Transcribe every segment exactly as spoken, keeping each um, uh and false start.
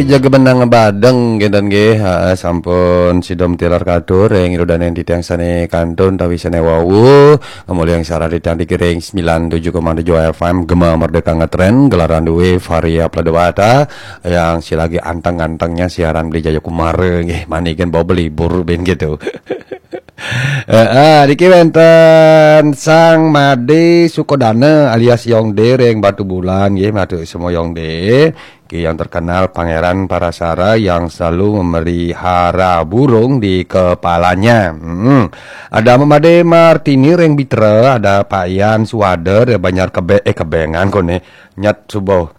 Jaga benang badeng kinten nggih, heeh, sampun sida matilar katur ring ida dané titiang sané kantun utawi sané wau, ngamulihang siaran titiang niki ring sembilan tujuh koma tujuh F M Gema Merdeka Ngetren, gelaran dué Varia Pladewata, yang si lagi anteng-antengnya siaran beli Jayakumara nggih, mani kan bawa belibur ben gitu. Heeh, niki wénten Sang Made Sukodana alias Yongde ring Batubulan nggih, matur semua Yongde. Ki yang terkenal Pangeran Parasara yang selalu memelihara burung di kepalanya. Hmm. Ada Made Martini ring Bitra, ada Pak Yan Suwada ring Banjar Kebe, eh, Kebengan koné. Nyat subuh.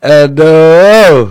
Aduh.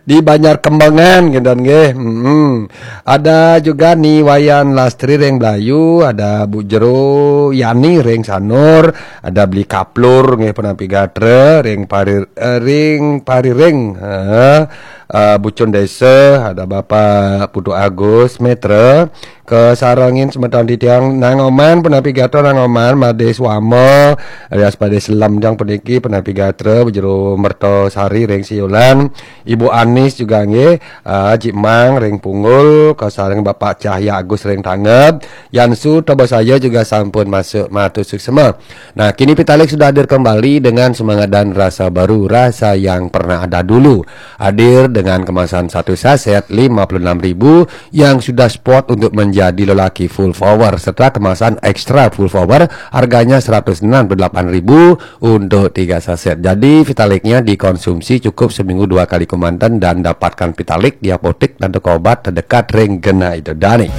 Di Banjar Kembangan kinten nggih. Hmm. Ada juga Ni Wayan Lastri ring Blayu, ada Bu Jero Yani ring Sanur, ada Beli Kaplur nggih, penampi gatra ring Parir, eh, ring Pariring. Heeh. Eh, Bucun Desa, ada Bapak Putu Agus Metra, kasarengin semeton titiang Nang Oman, penampi gatra Nang Oman, Made Swama, alias Made Selem jang puniki, penampi gatra, Bu Jero Merta Sari ring Siulan, Ibu Anis juga nggih, eh, Cik Mang ring Punggul, kasareng Bapak Cahya Agus ring Tangeb, Yansu Tobosaya juga sampun masuk, matur suksma. Nah, kini Pitalik sudah hadir kembali dengan semangat dan rasa baru, rasa yang pernah ada dulu. Hadir dengan kemasan satu saset lima puluh enam ribu yang sudah spot untuk menjadi lelaki full power, serta kemasan extra full power, harganya seratus enam puluh delapan ribu untuk tiga saset. Jadi, Vitaliknya dikonsumsi cukup seminggu dua kali kemanten dan dapatkan Vitalik di apotek dan toko obat terdekat ring genah ida dané.